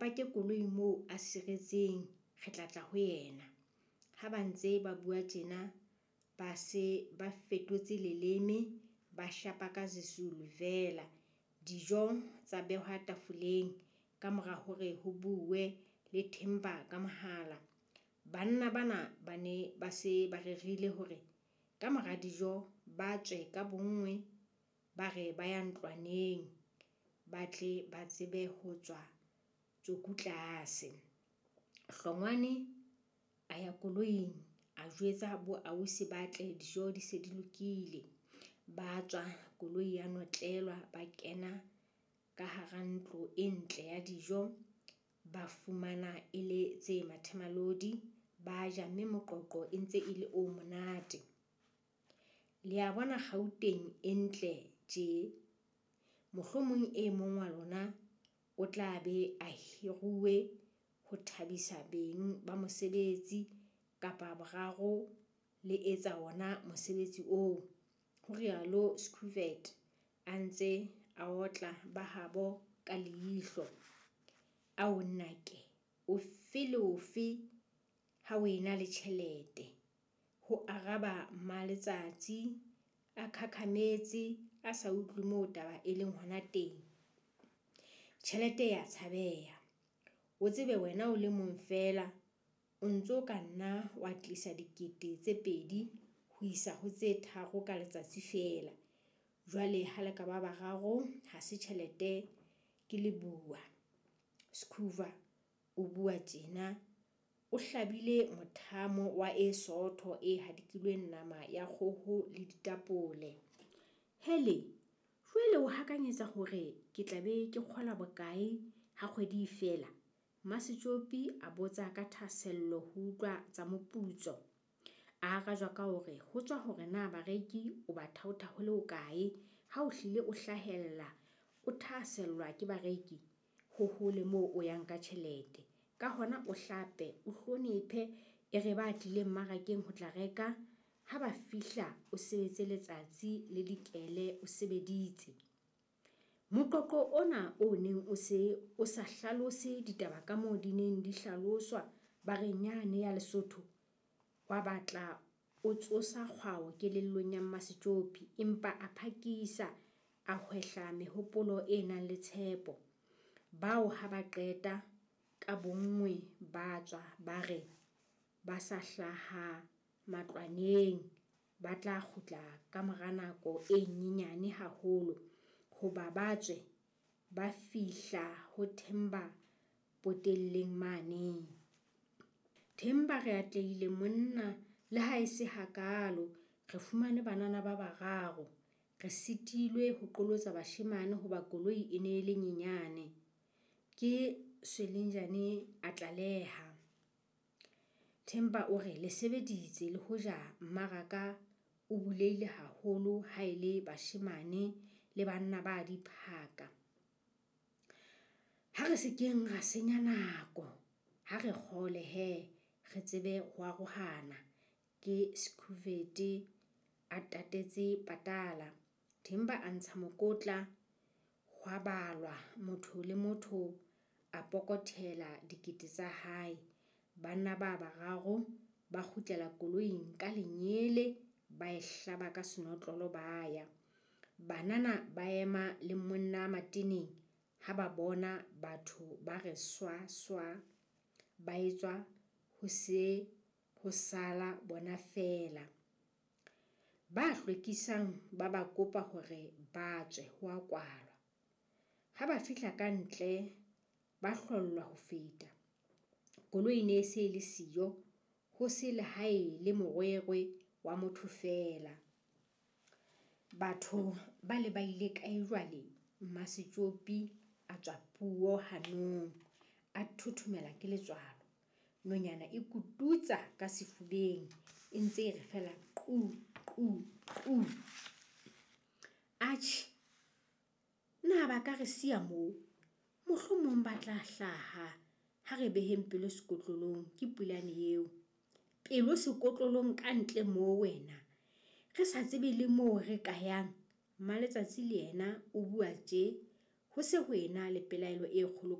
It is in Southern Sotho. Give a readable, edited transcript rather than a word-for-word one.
pake koloi moo a siretseng, re tla tla ho yena. Ha ba ntse ba bua tjena, ba se ba fetotse leleme, ba shapa ka Sezulu feela. Dijo tsa behwa tafoleng ka mora hore ho buuwe le Themba ka mohala. Banna bana ba ne ba se ba rerile hore ka mora dijo ba tswe ka bonngwe ba re ba ya ntlwaneng, ba tle ba tsebe ho tswa tjoku tlase. Hlongwane a ya koloing a jwetsa boausi ba tle dijo di se di lokile. Ba tswa koloi ya notlelwa ba kena ka hara ntlo e ntle ya dijo. Ba fumana e le tse mathemalodi, ba ja mme moqoqo e ntse e le o monate. Le a bona Gauteng e ntle tje. Mohlomong e mong wa lona o tla be a hiruwe ho thabisa beng ba mosebetsi kapa boraro le etsa wona mosebetsi oo, ho rialo Schubert a ntse a otla ba habo ka leihlo. Ao nnake, ofe le ofe ha o ena le tjhelete, ho araba Mmaletsatsi a khakhametse a sa utlwe moo taba e leng hona teng. Tjhelete e a tshabeha. O tsebe wena o le mong feela o ntso ka nna wa tlisa 2 000 ho isa ho tse 3 ka letsatsi feela. Jwale ha le ka ba bararo ha se tjhelete ke le bua. Skhova o bua tjena o hlabile mothamo wa e sootho e hadikilweng nama ya kgoho le ditapole. Hele, jwale o hakanyetsa hore ke tla be ke kgola bokae ha kgwedi e fela? Mmasetjopi a botsa ka thahasello ho utlwa tsa moputso. A arajwa ka hore ho tswa hore na bareki o ba thaotha ho le hokae. Ha o hlile o hlahella, o thahasellwa ke bareki, ho hole moo o yang ka tjhelete. Ka hona o hlape, o hlonephe, e re ba tlileng mmarakeng ho tla reka, ha ba fihla o sebetse letsatsi le dikele o sebeditse. Moqoqo ona o neng o se o sa hlalose ditaba kamoo di neng di hlaloswa bareng yane ya Lesotho, wa batla o tsosa kgwao kelellong ya Mmasetjopi, empa a phakisa a hwehla mehopolo e nang le tshepo. Bao ha ba qeta, ka bonngwe ba tswa ba re ba sa hlaha matlwaneng, ba tla kgutla ka mora nako e nyenyane haholo. Hoba ba tswe, ba fihla ho Themba potelleng mane. Themba re atlehile monna le ha e se hakaalo, re fumane banana ba bararo. Re sitilwe ho qolotsa bashemane hoba koloi e ne e le nyenyane. Ke Zwelenjane a tlaleha. Themba o re le sebeditse le hoja mmaraka o bulehile haholo ha e le bashemane le banna ba diphaka. Ha re se keng ra senya nako, ha re kgole he re tsebe ho arohana. Ke Skhuvete a tatetse patala. Themba a ntsha mokotla, hwa balwa motho le motho a pokothela 1000 tsa hae. Banna ba bararo ba kgutlela koloing ka lenyele ba e hlaba ka senotlolo ba ya. Banana ba ema le monna mateneng ha ba bona batho ba re swa swa ba etswa ho se ho sala bona feela. Ba hlwekisang ba ba kopa hore ba tswe ho a kwalwa. Ha ba fihla ka ntle ba hlollwa ho feta. Koloi e ne e se e le siyo, ho se le ha e le morwerwe wa motho feela. Batho ba le ba ile kae jwale? Mmasetjopi a tswa puo hanong, a thothomela ke letswalo. Nonyana e kututsa ka sefubeng e ntse e re feela qu qu qu. Atjhe, na ba ka re siya moo? Mohlomong ba tla hlaha ha re beheng pelo sekotlolong, ke Pulane eo. Pelo sekotlolong ka ntle moo wena. Re sa tsebe le moo re ka yang. Mmaletsatsi le yena o bua tje ho se ho ena le pelaelo e kgolo.